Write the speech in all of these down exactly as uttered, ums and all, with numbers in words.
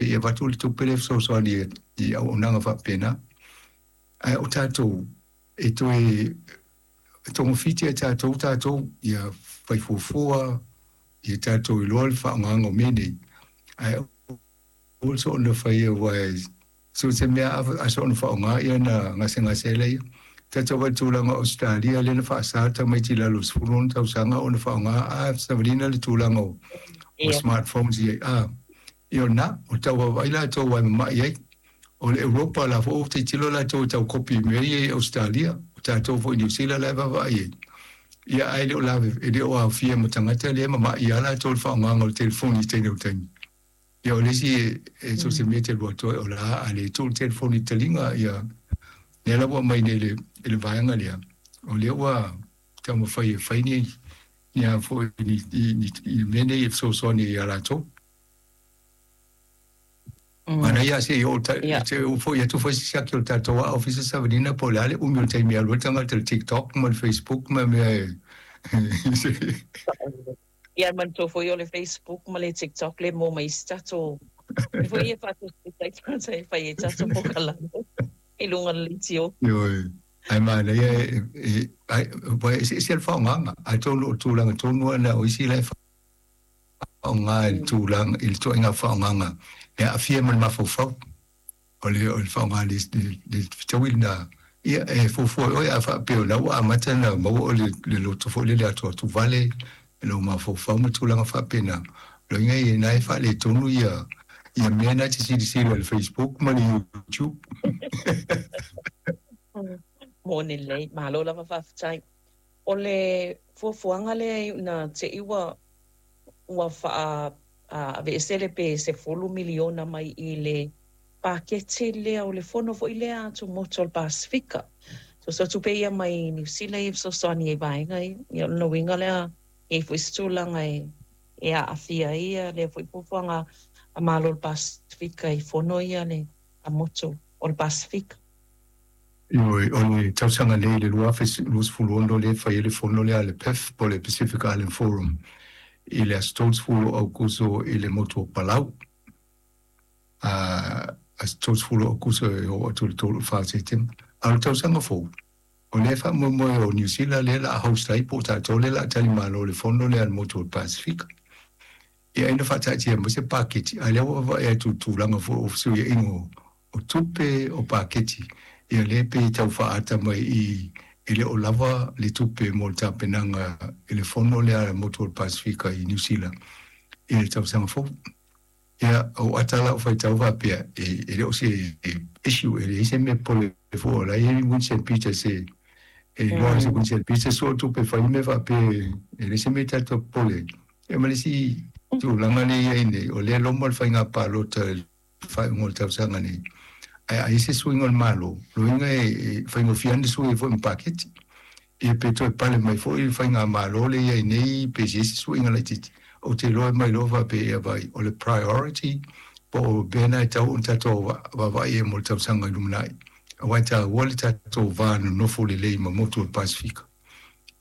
E avatu le tupe lea e fesoasoani i auaunaga faapena. Ae o tatou e toe togafiti e tatou tatou ia fai fuafua ia tatou iloa le faaaogaga o mea nei, ae aua soona faia aua so se mea a soona faaaoga ia na gasegase ai laia. Tatou vaai i le tulaga o Ausetalia lea na faasa tamaiti i lalo o le sefulu ono tausaga ona faaaoga a savalina le tulaga o smartphones ia a ia o lena o tau vaavaai latou aua e mamai ai. O le Europa la foi ua tilotilo latou e tau kopi i mea ia i Ausetalia, o tatou foi i Niu Sila la e vaavaai ai. Ia ae le o lave, e le o aofia ma tagata lea e mamai lava latou i le faaaogaga o le telefoni i taimi o taimi. Ia o le isi e so o se mea e te alu atu ai o la a le tuu le telefoni i le taliga, ia lea la ua aumai nei i le vaega lea, o lea ua taumafai e fai ni ni a foi ni ni mea nei e fesoasoani ai ia latou. Manaia lava se i oo se i oo foi atu foi se siaki o le tatou Ofisa Savalina po o le a le umi o le taimi e alu ai le tagata i le TikTok ma le Facebook ma mea e. Ia manatua foi o le Facebook ma le TikTok le mo ma isi tatou mea foi ia e faatosita ai tagata e fai ai tatou polokalame i luga o le leitio. Ioe, ae manaia e aua e eseese le faaaogaga, atonu o le tulaga tonu lava lena o isi la e faaaoga i le tulaga i le ituaiga faaaogaga e aafia ma le mafaufau. O le o le faaaoga le le fetaui lena, ia e fuafua e oe a faapea o la ua amata ona maua oe le le loto foi lele atuatuvale i lou mafaufau ma tulaga faapena. O lona uiga ia na e faaletonu ia ia mea na e te silasila i le Facebook ma le YouTube. Moni lelei, malo lava faafetai. O le fuafuaga lea na te i ua ua faa-aveese le pe sefulu miliona mai i le paketi lea o le fono foi lea a Tumotu o le Pasefika. Soso tupe ia mai Niu Sila ia e fesoasoani ai i vaega ia. Ia o lona uiga lea e i ai foi se tulaga e e aafia ai ia lea foi fuafuaga a Malo o le Pasefika i fono ia le a motu o le Pasefika. Ioe, o le tausaga nei i le lua afe luasefulu ono lea e fai ai le fono lea a le P I F po o le Pacific Island Forum i le aso tolusefulu o Aukuso i le motu o Palau. A aso tolusefulu o Aukuso e oo atu i le tolu i le fa o Setema. A o le tausaga fou, o lea e faamoemoe o Niu Sila lea o le a host ai po o tatou lea o le a talimalo i le fono lea a le motu o le Pasefika. Ia ai na faataatia mai se paketi, a o lea ua vaavaai atu i le tulaga foi o fesuiaiga o o tupe, o paketi, ia lea pei e tau faaata mai i e le o lava le tupe mo le tapenaga i le fono lea a le motu o le Pasefika i Niu Sila i le tausaga fou. Ia, o ata lau faitau faapea, e, e le o se issue, e leai se mea pole fua, o la e i ai Winston Peters e, e iloa ai se Winston Peters sua tupe fai mea faapea, e leai se mea tatou popole ai. Ia ma le isi tulaga lea e i ai nei, o lea e loma le faiga palota i le faaiuga o le tausaga nei, ae a i ai se suiga o le Malo, lona uiga e faigofie lava ona sui ai foi ma paketi. Ia pe toe pale mai foi le faigamalo lea e i ai nei pe i ai se suiga laitiiti, ou te iloa e mai loa faapea ia vaai, o le priority po o mea na e tatau ona tatou vaavaai i ai mo le tausaga i lumanai, aua e taua le tatou va nonofo lelei ma motu o le Pasefika.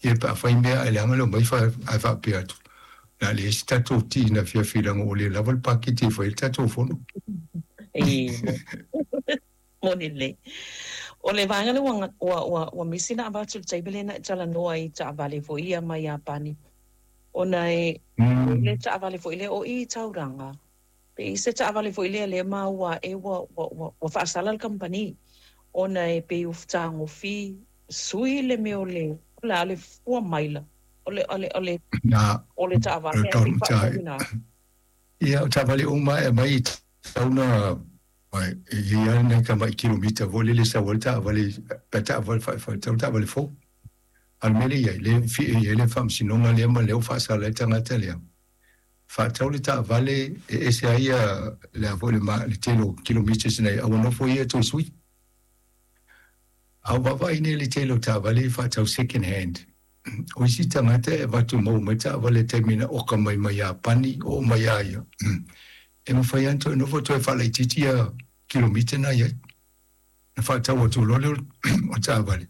Ia pe a fai mea ae leaga le omai ae faapea atu, o le a leai se tatou ti na afiafi leaga ua le lava le paketi e fai ai le tatou fono. Moni lelei. O le vaega lea ua, ua, ua, ua misi na avatu i le taimi lea na e talanoa ai i taavale foi ia mai Iapani, ona e o le taavale foi lea o i i Tauranga, pe i se taavale foi lea lea maua ae ua, ua, ua, ua faasala le kamupani, ona e pei ua fetagofi sui le mea o le, o le a le fua maila o le, o le, o le, Na, o le o taavale le ae pei taunuu tae. faatauina. Ia, o taavale uma e aumai i tauna. E i ai lava nai tamai kilomita foi lele e sau ai le taavale, pe taavale faatau taavale fou. A o le mea lea e i ai, lea e fia i ai le faamasinoga lea ma lea ua faasala ai le tagata lea, faatau le taavale e ese ai le a foi le le tele o kilometers ina ia aua nofo ia toe sui. A o vaavaai nei i le tele o taavale e faatau second hand, o isi tagata e avatu maua mai taavale i le taimi na oka mai mai Iapani oo mai ia ia, e mafai lava ona toe nofo toe faalaitiiti ia kilomita na i ai. Na faatau atu loa lea o taavale,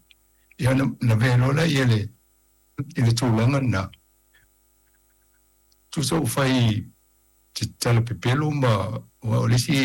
ia na, na avea loa lea le, i le tulaga lena. Tusa ua fai te tala pepelo ma, aua o le isi